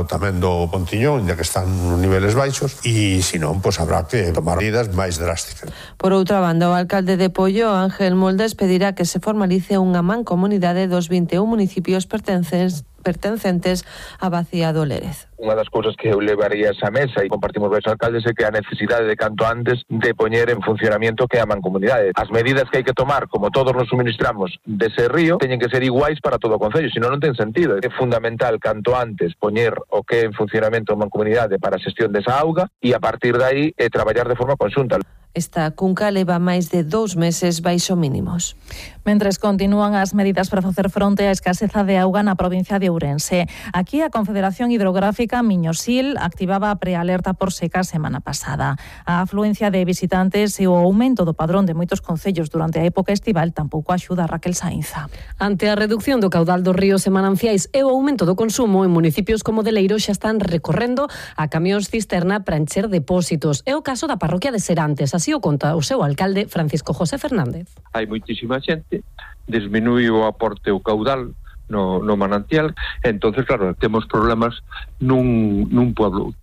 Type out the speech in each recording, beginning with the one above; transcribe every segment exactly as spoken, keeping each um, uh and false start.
tamén do Pontiñón, ainda que están nos niveles baixos, e se non, pois habrá que tomar medidas máis drásticas. Por outra banda, o alcalde de Poio, Ángel Moldes, pedirá que se formalice unha mancomunidade dos vinte e un municipios pertencentes pertencentes a Bacía do Lérez. Unha das cousas que eu levaría a esa mesa e compartimos con os alcaldes é que a necesidade de canto antes de poñer en funcionamento que a mancomunidade. As medidas que hai que tomar, como todos nos suministramos dese río, teñen que ser iguais para todo o concello, senón non ten sentido. É fundamental canto antes poñer o que é en funcionamento a mancomunidade para a xestión desa auga e a partir de aí eh, traballar de forma conxunta. Esta cunca leva máis de dous meses baixo mínimos. Mentres continúan as medidas para facer fronte á escaseza de auga na provincia de Ourense. Aquí a Confederación Hidrográfica Miñosil activaba a prealerta por seca a semana pasada. A afluencia de visitantes e o aumento do padrón de moitos concellos durante a época estival tampouco axuda a Raquel Sainza. Ante a reducción do caudal dos ríos e mananciais e o aumento do consumo, en municipios como Deleiro xa están recorrendo a camións cisterna para encher depósitos. É o caso da parroquia de Serantes. Así o conta o seu alcalde Francisco José Fernández. Hai moitísima xente, disminui o aporte o caudal no, no manantial, entonces claro, temos problemas nun, nun pueblo.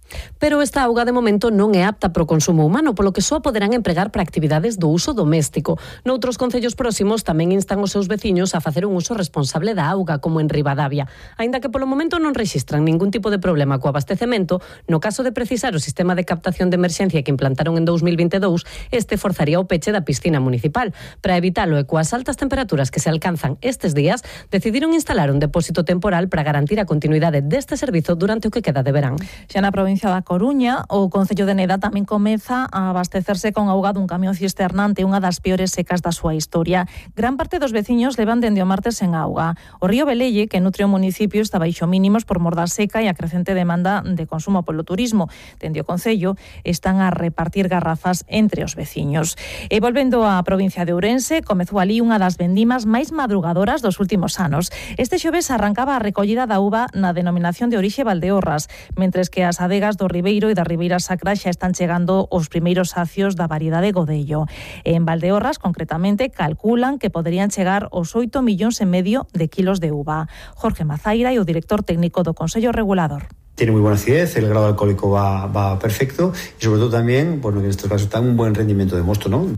Pero esta auga de momento non é apta para o consumo humano, polo que só poderán empregar para actividades do uso doméstico. Noutros concellos próximos tamén instan os seus veciños a facer un uso responsable da auga, como en Ribadavia. Aínda que polo momento non rexistran ningún tipo de problema co abastecemento, no caso de precisar o sistema de captación de emerxencia que implantaron en dous mil vinte e dous, este forzaría o peche da piscina municipal. Para evitalo e coas altas temperaturas que se alcanzan estes días, decidiron instalar un depósito temporal para garantir a continuidade deste servizo durante o que queda de verán. Xa na provincia da Coruña, o concello de Neda tamén comeza a abastecerse con auga dun camión cisternante, unha das peores secas da súa historia. Gran parte dos veciños levan dende o martes sen auga. O río Velelle, que nutre o municipio, está baixo mínimos por mor da seca e a crecente demanda de consumo polo turismo. Dende o concello están a repartir garrafas entre os veciños. E volvendo á provincia de Ourense, comezou ali unha das vendimas máis madrugadoras dos últimos anos. Este xoves arrancaba a recollida da uva na denominación de orixe Valdeorras, mentres que as adegas do Ribeiro e da Ribeira Sacra xa están chegando os primeiros sacios da variedade Godello. En Valdeorras, concretamente, calculan que poderían chegar os oito millóns e medio de kilos de uva. Jorge Mazaira e o director técnico do Consello Regulador. Tiene muy buena acidez, el grado alcohólico va, va perfecto y sobre todo también, bueno, que en estos casos está un buen rendimiento de mosto, ¿no?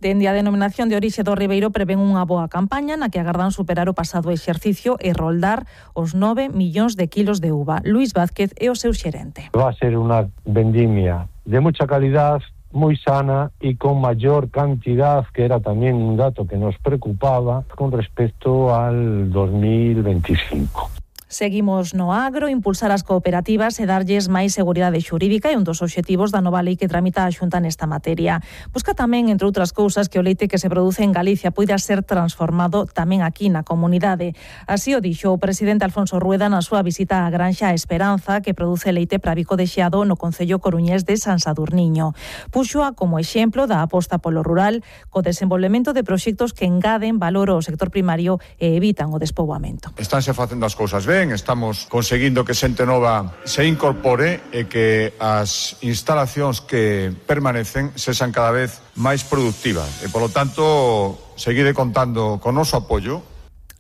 Dende a denominación de orixe do Ribeiro prevén unha boa campaña na que agardan superar o pasado exercicio e roldar os nove millóns de kilos de uva. Luis Vázquez é o seu xerente. Va a ser unha vendimia de mucha calidad, muy sana y con mayor cantidad, que era también un dato que nos preocupaba con respecto al dos mil veinticinco. Seguimos no agro, impulsar as cooperativas e darlles máis seguridade xurídica é un dos obxectivos da nova lei que tramita a Xunta nesta materia. Busca tamén, entre outras cousas, que o leite que se produce en Galicia poida ser transformado tamén aquí na comunidade. Así o dixo o presidente Alfonso Rueda na súa visita á granxa Esperanza, que produce leite para bico de xeado no concello coruñés de San Sadurniño. Puxoa como exemplo da aposta polo rural, co desenvolvemento de proxectos que engaden valor ao sector primario e evitan o despoboamento. Estánse facendo as cousas ben, estamos conseguindo que xente nova se incorpore e que as instalacións que permanecen sexan cada vez máis productivas e, polo tanto, seguide contando con noso apoio.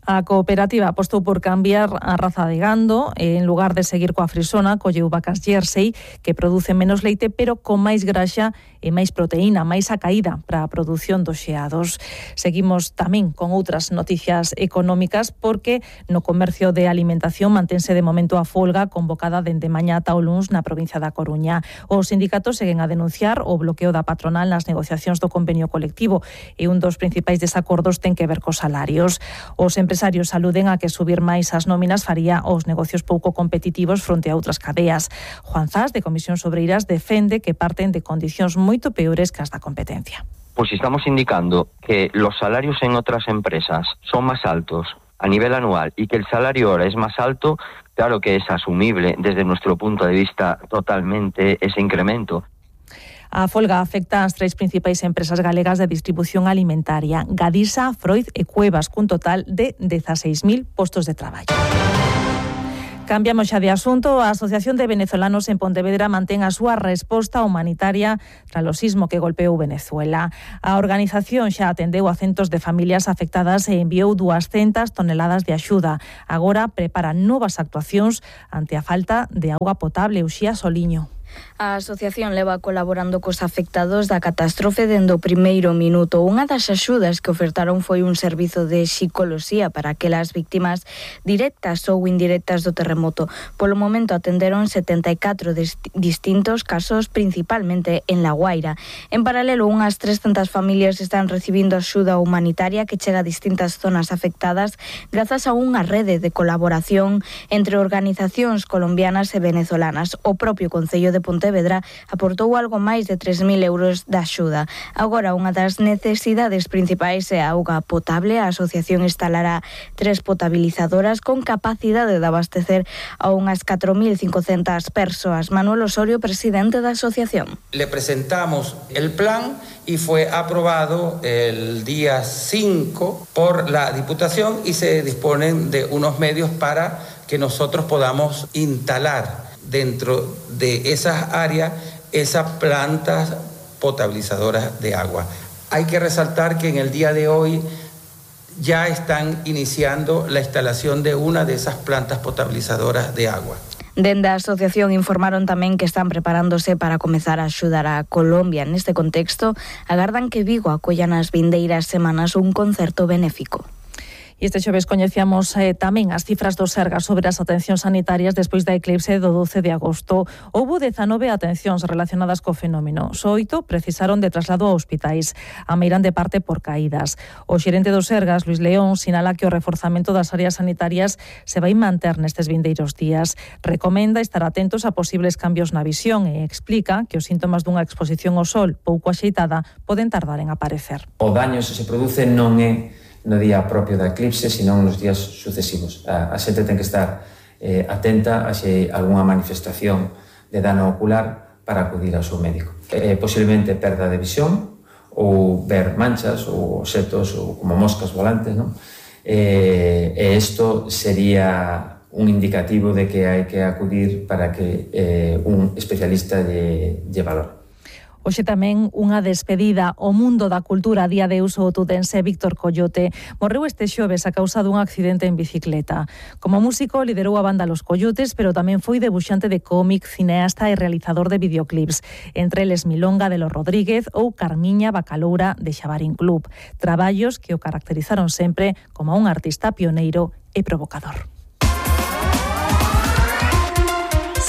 A cooperativa apostou por cambiar a raza de gando e, en lugar de seguir coa frisona, colleu vacas Jersey que producen menos leite pero con máis graxa e máis proteína, máis acaída para a produción dos xeados. Seguimos tamén con outras noticias económicas porque no comercio de alimentación mantense de momento a folga convocada dende mañá ata o luns na provincia da Coruña. Os sindicatos seguen a denunciar o bloqueo da patronal nas negociacións do convenio colectivo e un dos principais desacordos ten que ver cos salarios. Os empresarios aluden a que subir máis as nóminas faría os negocios pouco competitivos fronte a outras cadeas. Juan Zas, de Comisións Obreiras, defende que parten de condicións moito peores que as da competencia. Pues estamos indicando que los salarios en otras empresas son más altos a nivel anual y que el salario ahora es más alto, claro que es asumible desde nuestro punto de vista totalmente ese incremento. A folga afecta ás tres principais empresas galegas de distribución alimentaria, Gadisa, Freud e Cuevas, cun total de dieciséis mil postos de traballo. Cambiamos xa de asunto. A Asociación de Venezolanos en Pontevedra mantén a súa resposta humanitaria tras o sismo que golpeou Venezuela. A organización xa atendeu a centos de familias afectadas e enviou duascentas toneladas de axuda. Agora prepara novas actuacións ante a falta de auga potable. Uxía Soliño. A asociación leva colaborando cos afectados da catástrofe dende o primeiro minuto. Unha das axudas que ofertaron foi un servizo de psicoloxía para aquelas víctimas directas ou indirectas do terremoto. Polo momento atenderon setenta e catro distintos casos, principalmente en La Guaira. En paralelo, unhas trescentas familias están recibindo axuda humanitaria que chega a distintas zonas afectadas grazas a unha rede de colaboración entre organizacións colombianas e venezolanas. O propio Concello de Pontevedra aportou algo máis de tres mil euros de axuda. Agora, unha das necesidades principais é a auga potable. A asociación instalará tres potabilizadoras con capacidade de abastecer a unhas catro mil cincocentas persoas. Manuel Osorio, presidente da asociación. Le presentamos el plan y fue aprobado el día cinco por la Diputación y se disponen de unos medios para que nosotros podamos instalar dentro de esas áreas esas plantas potabilizadoras de agua. Hay que resaltar que en el día de hoy ya están iniciando la instalación de una de esas plantas potabilizadoras de agua. Dende a asociación informaron tamén que están preparándose para comezar a axudar a Colombia. Neste contexto, agardan que Vigo acolla nas vindeiras semanas un concerto benéfico. E este xoves coñecíamos eh, tamén as cifras do Sergas sobre as atencións sanitarias despois da eclipse do doce de agosto. Houbo dezanove atencións relacionadas co fenómeno. Só oito precisaron de traslado a hospitais. A meiran de parte por caídas. O xerente do Sergas, Luis León, sinala que o reforzamento das áreas sanitarias se vai manter nestes vindeiros días. Recomenda estar atentos a posibles cambios na visión e explica que os síntomas dunha exposición ao sol pouco axeitada poden tardar en aparecer. O daño se se produce non é no día propio da eclipse, senón nos días sucesivos. A, a xente ten que estar eh, atenta a se algunha manifestación de dano ocular para acudir ao seu médico. Eh, posiblemente perda de visión ou ver manchas ou obxetos ou como moscas volantes, non? Eh, e isto sería un indicativo de que hai que acudir para que eh, un especialista lle, lle valore. Hoxe tamén unha despedida ao mundo da cultura. Día de uso tutense Víctor Coyote morreu este xoves a causa dun accidente en bicicleta. Como músico liderou a banda Los Coyotes, pero tamén foi debuxante de cómic, cineasta e realizador de videoclips, entre eles Milonga de los Rodríguez ou Carmiña Bacaloura de Xabarín Club. Traballos que o caracterizaron sempre como un artista pioneiro e provocador.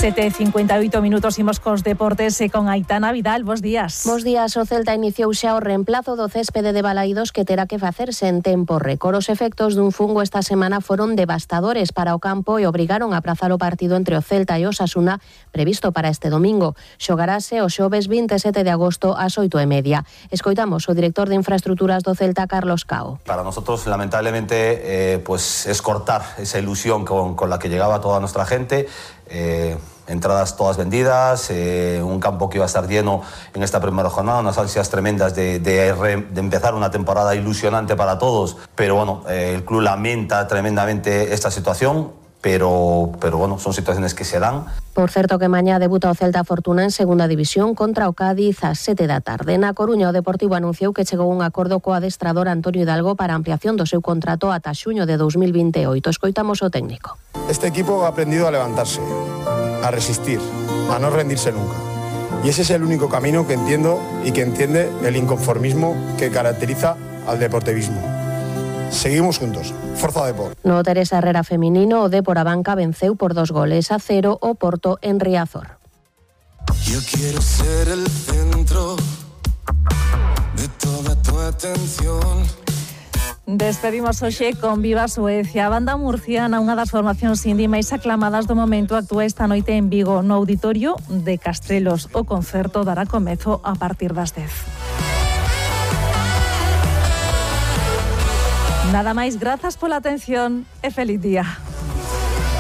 sete e cincuenta e oito minutos, imos cos deportes e con Aitana Vidal. Bos días. Bos días. O Celta iniciou xa o reemplazo do céspede de Balaídos que terá que facerse en tempo récord. Os efectos dun fungo esta semana foron devastadores para o campo e obrigaron a aprazar o partido entre o Celta e o Osasuna previsto para este domingo. Xogarase o xoves vinte e sete de agosto ás oito e media. Escoitamos o director de infraestructuras do Celta, Carlos Cao. Para nosotros, lamentablemente, eh, pues es cortar esa ilusión con, con la que llegaba toda nuestra gente. Eh, entradas todas vendidas, eh, un campo que iba a estar lleno en esta primera jornada, unas ansias tremendas de, de, de empezar una temporada ilusionante para todos, pero bueno, eh, el club lamenta tremendamente esta situación, pero, pero bueno, son situaciones que se dan. Por certo que mañá debuta o Celta Fortuna en segunda división contra o Cádiz ás sete da tarde. Na Coruña, o Deportivo anunciou que chegou un acordo co adestrador Antonio Hidalgo para a ampliación do seu contrato ata xuño de dos mil vinte e oito. Escoitamos o técnico. Este equipo ha aprendido a levantarse, a resistir, a no rendirse nunca. Y ese es el único camino que entiendo y que entiende el inconformismo que caracteriza al deportivismo. Seguimos juntos. Forza Depor. No Teresa Herrera feminino, o Depor a banca venceu por dos goles a cero o Porto en Riazor. Yo quiero ser el centro de toda tu atención. Despedimos hoxe con Viva Suecia. A banda murciana, unha das formacións indie máis aclamadas do momento, actúa esta noite en Vigo, no Auditorio de Castrelos. O concerto dará comezo a partir das dez. Nada máis, grazas pola atención e feliz día.